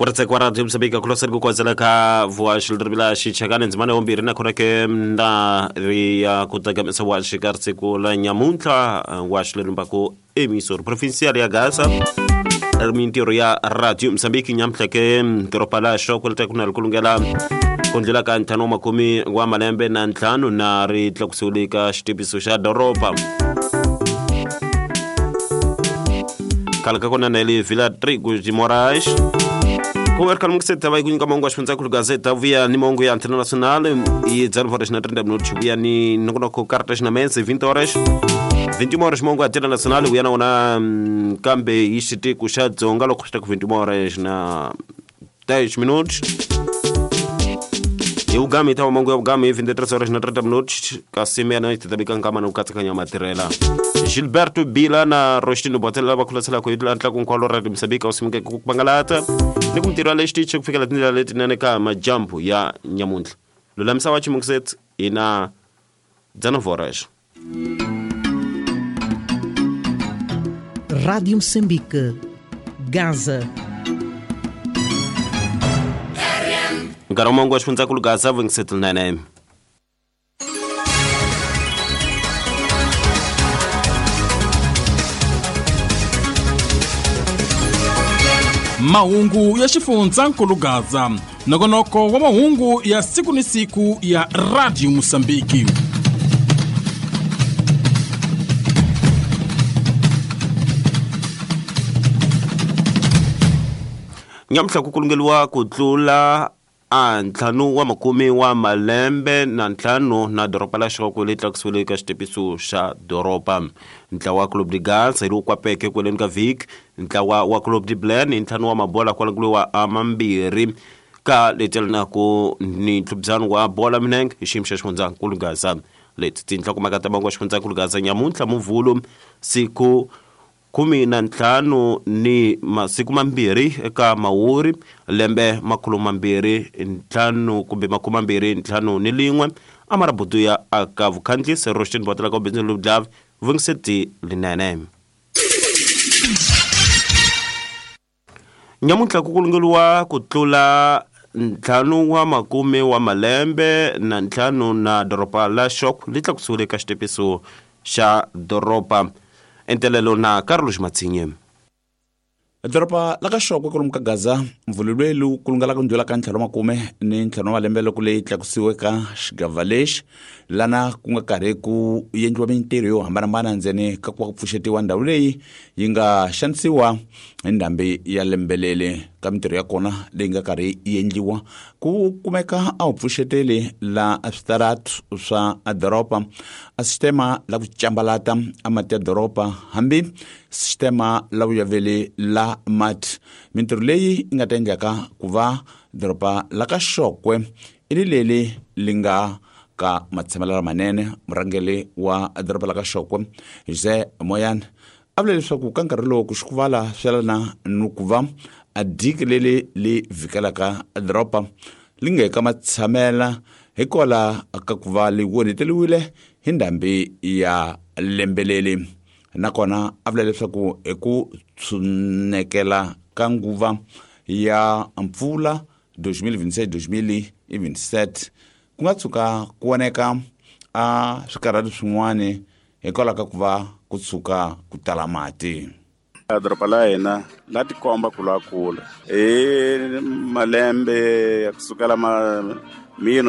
Ku ri radio Mozambique kuloseri ku kwazela ka voaxi ririmi xichangani ndzimana ya vumbirhi nakona ke na ri ya ku tsakamisa wa xikarhi siku la nyamuntlha wa xilerimbaku emisori provincial ya Gaza mintirho ya radio Mozambique nyamuntlha ke doroba la xoko ri ku na ri kulungela ku ndlela ka ntlhanu wa makume wa malembe na ntlhanu na ri tlakusiwile ka xitiviso xa doroba khale ka kona na le Vila Trigo de Moraes ku ri khale mukiseta va yi ku nyika mahungu ya xifundza khulu gazeta vuya ni mahungu ya antena nacional i 19 horas na 30 minutos vuya ni nongonoko cartas na mesa 20 horas 21 horas mahungu ya antena nacional vuya na wona kambe hi xitiko xa dzonga loko swi ta ku 21 horas na 10 minutos hi vugami ta mahungu ya vugami hi 23 horas na 30 minutos kasi meya ti ta vika nkama na ku katsakanya matirhela Gilberto Bila na Rostino Botela lava khulaselaka hi tlaku nkwalo ra Mozambique wu simukeke ku pangalata ni ku mintirho ya le xitichi ku fikela tindlela letinene ka majambu ya nyamuntlha lulamisa wa chimukiset hi na 19 horas. Rádio Moçambique, Gaza. Nkarhi wa mahungu wa xifundzankulu Gaza 27 Mahungu ya xifundzankulu Gaza, nongonoko wa mahungu ya siku ni siku ya Radio Mosambiki. Nyamuntlha ku kulungeliwa ku tlula a ntlhanu wa makume wa malembe na ntlhanu na doroba la xoko leyi tlakusiwile ka xitepiso xa doroba. Ntlawa wa Club de Gaza hi lowu kwapeke kweleni ka vhiki ntlawa wa Club de Blen hi ntlhanu wa mabola kwalanguliwa a mambirhi ka leti ni ntlhubyano wa bola minenge hi xiyimo xa xifundzankulu Gaza. Leti tinhlokomhaka ta mahungu ya xifundzankulu Gaza nyamuntlha muvhulu siku 15 ni masiku mambirhi eka mawuri lembe 2005 kumbe 2051 amarabudu ya aka vukhandlisi Roshin Botela ka bindzu lubdlav vungiseti linene. Nyamuntlha ku kulungeliwa ku tlula ntlhanu wa makume wa malembe na ntlhanu na doroba la xoko li tlakusiwile ka xitepiso xa doroba. Entelelo na Carlos Matsinye. Doroba la ka xoko kwalomu ka Gaza mvululwelu ku lungela ku ndlula ka ntlhanu wa makume ni ntlhanu wa malembe loko leyi tlakusiwe ka xigava lexi lana ku nga karhi ku endliwa mintirho yo hambanahambana ndzeni ka ku va ku pfuxetiwa ndhawu leyi yi nga xanisiwa hi ndhambi ya lembelele. Ka mintirho ya kona leyi nga karhi yi endliwa ku kumeka a wu pfuxeteli la switaratu swa doroba, a sistema la ku cambalata a mati ya doroba hambi sistema la vuyaveli la mati. Mintirho leyi yi nga ta endlaka ku va doroba la ka Xokwe i ri leri li nga ka matshamelo lamanene. Murhangeri wa doroba la ka Xokwe Jose Moyane a vula leswaku ka nkarhi lowu ku xikuvala swelana ni ku va a diki leri li vhikelaka doroba li nga eka matshamela hikwalaho ka ku va li onheteriwile hi ndhambi ya lembeleli. Nakona a vula leswaku hi ku tshunekela ka nguva ya mpfula 2026-2027 ku nga tshuka ku voneka a swikarhati swin'wana hikwalaho ka ku va ku tshuka ku tala mati. Doroba la hina la tikomba ku lwa kula hi malembe ya kusukela mino.